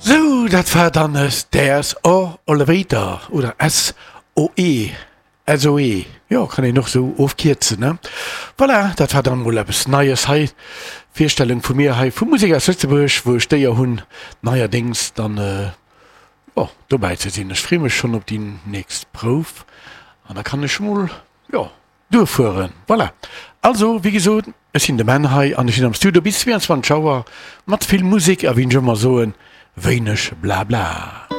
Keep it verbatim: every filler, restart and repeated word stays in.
Sou, dat war dann Stairs or Elevator oder S O E, S O E, jo, kann een och sou ofkierzen, ne? Voilà, dat war dann mol eppes Neies hei, Virstellung vu mir hei vu Musek aus Lëtzebuerg, wou ech d'Éier hunn neierdéngs dann, jo, dobäi ze sinn. Ech freeë mech schonn op déi nächst Prouf an da kann ech mol, jo, duerfueren. Voilà, also wéi gesot, ech sinn de Menn hei an ech sinn am Studio bis zweiundzwanzeg Auer mat vill Musek a wéi ech ëmmer soen, wéineg Blabla.